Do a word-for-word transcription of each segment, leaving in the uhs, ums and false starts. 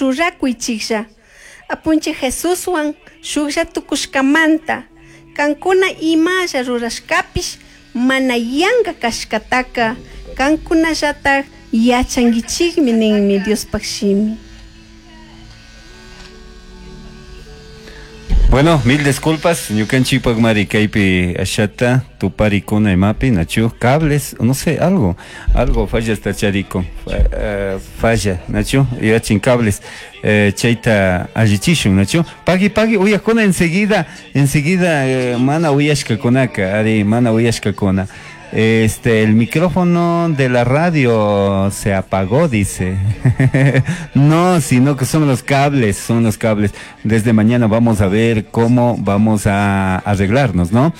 Ruracuichijlla. Apunchij Jesushuan shujlla tucushcamanta cancuna imalla rurashcapish mana yanga cashcataca cancunallataj yachanguichijmi ninmi Diospaj shimi. Bueno, mil disculpas, ñukanchikpak mari kaypi ashata tuparikuna imapi nachu cables, no sé, algo, algo falla esta chariko, uh, falla, nachu, yachin cables, eh, chayta allichishun, nachu, pagui pagui uyakuna enseguida, enseguida eh, mana uyashkakunaka, ari mana uyashkakuna. Este, el micrófono de la radio se apagó, dice. No, sino que son los cables, son los cables. Desde mañana vamos a ver cómo vamos a arreglarnos, ¿no?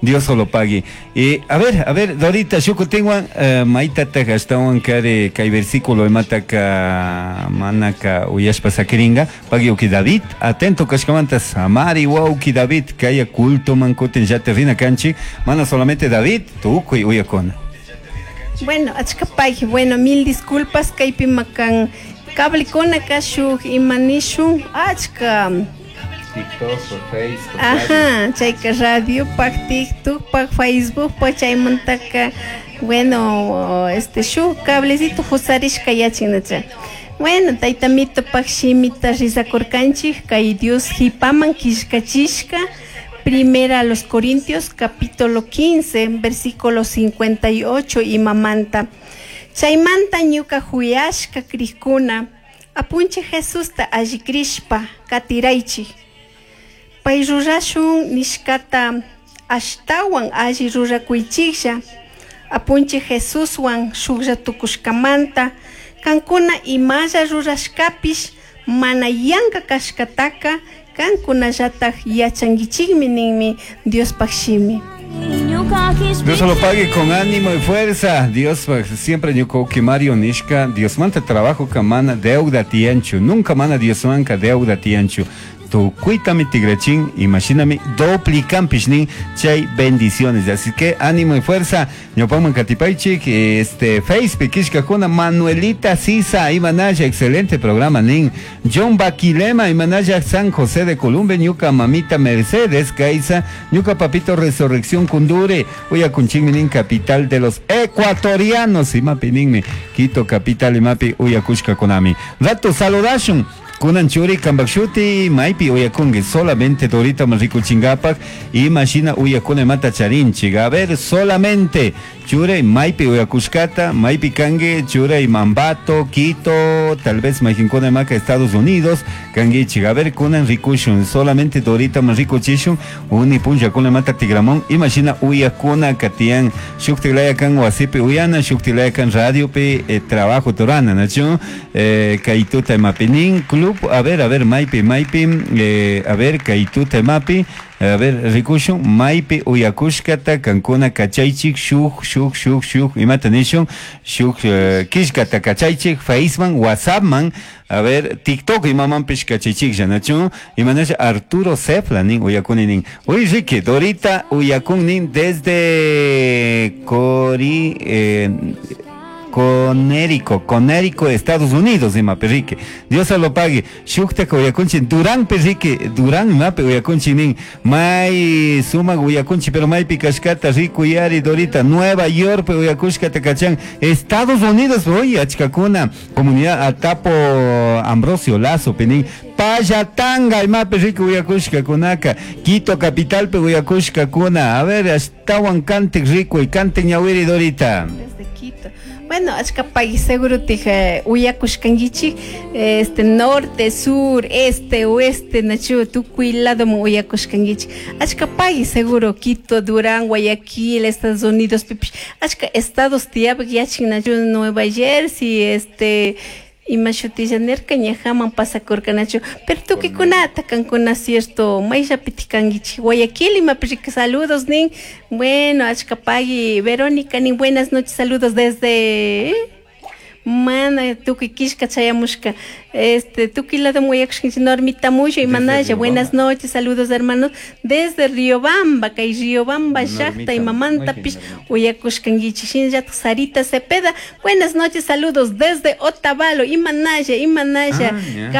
Dios solo pague. Y a ver, a ver, Dorita, shukutinwan, uh, maitata ashtawan kare kay versículo imataka manaka uyashpa sakiringa, pagui uki David, atento kashkamanta samari wauki David, kaya culto man kutin llata rina kanchi, mana solamente David, tukuy uyakuna. Bueno, achkapay, bueno, mil disculpas, kaypi makan cablecona kashuk imanishun, achka. TikTok, por Facebook. Ajá, chayka radio, pak TikTok, pak Facebook, pak chaymantaka, bueno, este shuk cablecito husarishka yachinacha. Bueno, taytamito pak shimita rizakurkanchik, kay Dios hipaman kishkachishka, Primera a los Corintios, capítulo quince, versículo cincuenta y ocho, imamanta. Chaymanta ñuka huyashka krikuna, apunche Jesusta allikrishpa katiraychik. Pay rurashun nishkata ashtawan alli rurakuychiklla, apunche Jesuswan shuklla tukushkamanta, kankuna imalla rurashkapish mana yanka kashkataka, kankunallataj yachankichikmi ninmi Diospaj shimi. Dios lo pague con ánimo y fuerza. Dios siempre ñuka Mario nishka, Dios manta trabajo kamana deuda tianchu, nunca mana Dios manka deuda tianchu. Tukuitami tigrachin, imagíname, duplican pishnin, chay bendiciones. Así que ánimo y fuerza. Ñopaman katipaichik, este, Facebook, kishkakuna, Manuelita Sisa, Imanaya, excelente programa, nin. John Baquilema, Imanaya, San José de Columbe, ñuka mamita Mercedes, Kaisa, ñuka papito Resurrección Kundure, uyakunchingminin, capital de los ecuatorianos, imapi ninmi, Quito, capital, imapi, uyakushka kunami. Rato saludashun. Kunan churi kambakshuti maypi uyakungi solamente Dorita Manriku chingapak imashina uyakuna mata charinchik. A ver, solamente chure maypi uyakushkata, maypi kangi chure Mambato, Quito, tal vez maykinkuna maka Estados Unidos, kangichik. A ver, kunan rikushun, solamente Dorita Manriku chishun, uni punlla kuna mata tigramón, imashina uyakuna katian, shuktilaya kan wasipi uyana, shuktilaya kan radiopi eh, trabajo torana, nachu, eh, kaituta mapinin, club. A ver, a ver, maypi, maypi, eh, a ver, kaituta mapi, a ver, rikushun, maypi uyakushkata, kankuna kachaychik, shuk, shuk, shuk, shuk, imata nishun, shuk, eh, kishkata kachaychik, Faceman, WhatsAppman, a ver, TikTok, imamanpish kachaychik, yanachu, imanasha Arturo Cefla, nin, uyakuni nin. Uy, Ricky, Dorita, uyakun nin, desde Cori, eh, Conérico, Conérico, Estados Unidos, ima perrique. Dios se lo pague. Shukta uyakunchi, Durán perrique, Durán mape uyakunchi nin. May suma uyakunchi, pero may pikashkata, rico yari, Dorita, Nueva York, uyakushkata kachan, Estados Unidos, oye, achkakuna, comunidad Atapo Ambrosio Lazo, penin, Payatanga, imape rico uyakushka kunaka, Quito capital pe uyakushka kuna. A ver, hasta cante rico y cante ñawiri, Dorita. Desde Quito. Bueno, achkapay seguro tija uyakushkankichik, este norte, sur, este, oeste, nachu, tukuy lado uyakushkankichik. Achkapay seguro Quito, Durán, Guayaquil, Estados Unidos, pipish, achka estados tiyapik yachin nachu, Nueva Jersey, este, imashutilla nirka ñajaman pasakurka nachu, pero tukikunata kankuna cierto, mayllapiti kankichik, Guayaquil imapirika saludos nin, bueno, achkapagui, Verónica nin, buenas noches, saludos desde mana tukuy kishka chayamushka, este tukuy lado muyakushkanchik, Normita Muyo y Manaya, buenas noches, saludos hermanos desde Riobamba, kay Riobamba llaqta imamantapish uyakushkankichik, shinallataq Sarita Cepeda, buenas noches, saludos desde Otavalo, Imanaya, Imanaya, Ah, ya.